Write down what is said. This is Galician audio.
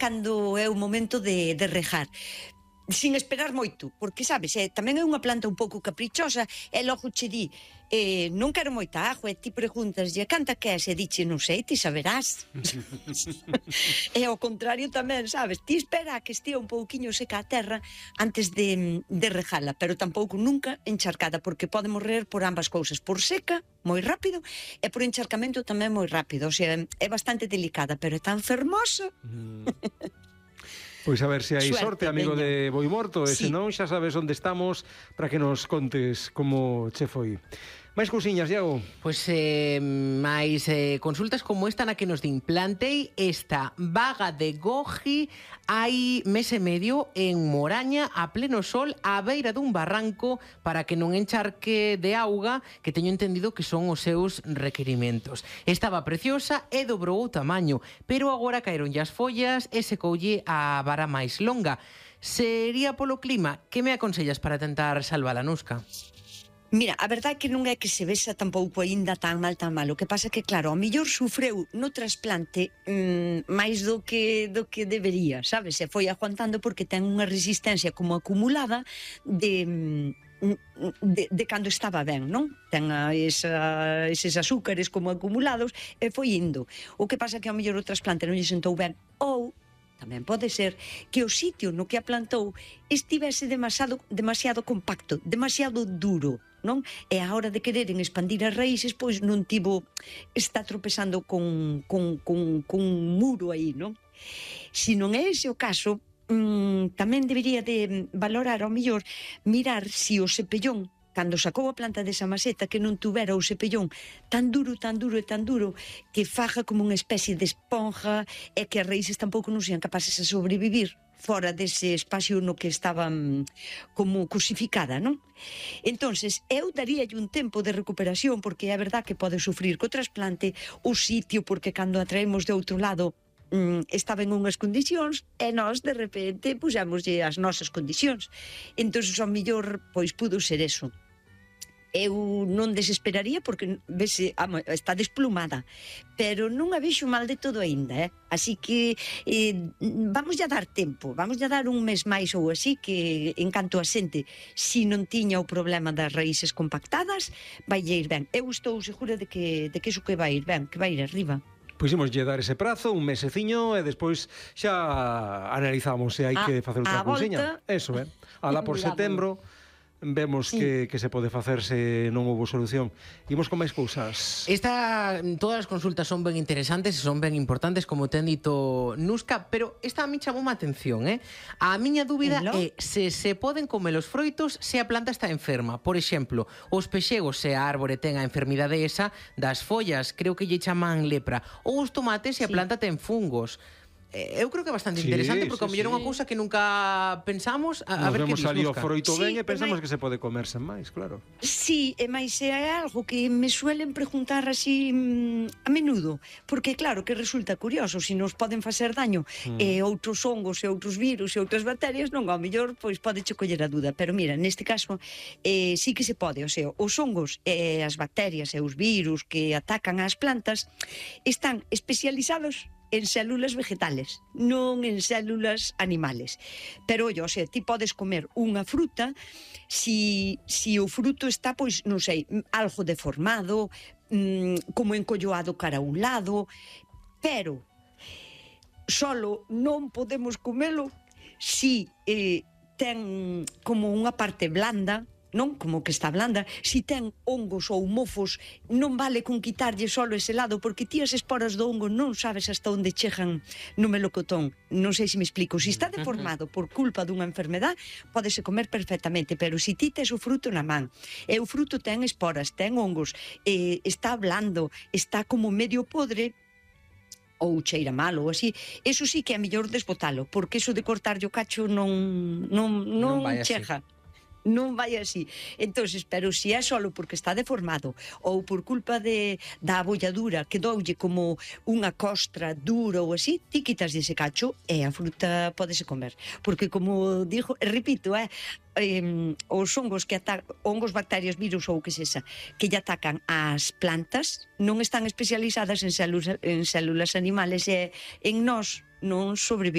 cando é o momento de regar, sin esperar moito, porque, sabes, tamén é unha planta un pouco caprichosa, e logo che di, non quero moita agua, e ti preguntas, canta queres? E diche, non sei, ti saberás. E ao contrario tamén, sabes, ti espera que estea un pouquiño seca a terra antes de regala, pero tampouco nunca encharcada, porque pode morrer por ambas cousas, por seca, moi rápido, e por encharcamento tamén moi rápido, o sea, é bastante delicada, pero é tan fermosa. Pois a ver se hai sorte, amigo de Boimorto, e senón xa sabes onde estamos para que nos contes como che foi. Máis cousiñas, Iago? Pois máis consultas como esta na que nos din: plantei esta vaga de goji hai mes e medio en Moraña a pleno sol á beira dun barranco para que non encharque de auga, que teño entendido que son os seus requerimentos. Estaba preciosa e dobrou o tamaño, pero agora caeronlle as follas e secoulle a vara máis longa. Sería polo clima? Que me aconsellas para tentar salvala, Nusca? Mira, a verdade é que non é que se vexa tampouco aínda tan mal. O que pasa é que, claro, ao mellor sufreu no trasplante máis do que debería, sabes? Se foi aguantando porque ten unha resistencia como acumulada de cando estaba ben, non? Ten eses azúcares como acumulados e foi indo. O que pasa é que ao mellor o trasplante non lle sentou ben, ou tamén pode ser que o sitio no que a plantou estivese demasiado compacto, demasiado duro, non? E a hora de quereren expandir as raíces, pois non está tropezando con un muro aí, non? Se non é ese o caso, tamén debería de valorar ao mellor mirar se o cepellón, cando sacou a planta desa maceta, que non tuvera o cepellón tan duro que faja como unha especie de esponja e que as raíces tampouco non sean capaces de sobrevivir fora dese espacio no que estaban como cosificada, non? Entonces, eu daríalle un tempo de recuperación, porque é verdad que pode sufrir co trasplante o sitio, porque cando a traemos de outro lado estaba en unhas condicións e nós de repente puxámoslle as nosas condicións. Entón, ao mellor, pois pudo ser eso. Eu non desesperaría porque vese, está desplumada, pero non a vexo mal de todo aínda, así que vamos a dar tempo, vamos a dar un mes máis ou así, que en canto a xente, si non tiña o problema das raíces compactadas, vai ir ben. Eu estou segura de que iso que vai ir ben, que vai ir arriba. Pois imoslle dar ese prazo, un meseciño, e despois xa analizamos se hai que facer outra cousiña. Eso, alá por setembro vemos que se pode facer se non houve solución. Imos con máis cousas. Todas as consultas son ben interesantes e son ben importantes, como ten dito Nusca, pero esta a mí chamou má atención, A miña dúbida é se poden comer os froitos se a planta está enferma. Por exemplo, os pexegos se a árbore ten a enfermidade esa das follas, creo que lle chaman lepra, ou os tomates se a planta ten fungos. Eu creo que é bastante interesante, porque ao mellor é unha cousa que nunca pensamos. A ver que vemos ali o froito ben e pensamos que se pode comer sen máis, claro. Sí, e máis é algo que me suelen preguntar así a menudo, porque claro que resulta curioso, se nos poden facer daño outros hongos e outros virus e outras bacterias, non, ao mellor pois pode che coller a dúda, pero mira, neste caso sí que se pode, o sea, os hongos e as bacterias e os virus que atacan as plantas están especializados en células vegetales, non en células animales. Pero, o sea, ti podes comer unha fruta si o fruto está, pois, non sei, algo deformado, como encolloado cara a un lado, pero solo non podemos comelo si ten como unha parte blanda, non? Como que está blanda. Si ten hongos ou mofos, non vale con quitarlle solo ese lado, porque ti as esporas do hongo non sabes hasta onde chegan no melocotón. Non sei se me explico. Si está deformado por culpa dunha enfermedad, pódese comer perfectamente, pero si ti tes o fruto na man, e o fruto ten esporas, ten hongos, está blando, está como medio podre, ou cheira mal ou así, eso sí que é mellor desbotalo, porque eso de cortarlle o cacho non chega. Non vai así. Entonces, pero se é solo porque está deformado ou por culpa da abolladura que doulle como unha costra dura ou así, ti quitas ese cacho e a fruta pódese comer. Porque como digo, repito, os hongos hongos, bacterias, virus ou que sexa, que lle atacan as plantas, non están especializadas en células animales e en nós non sobreviven.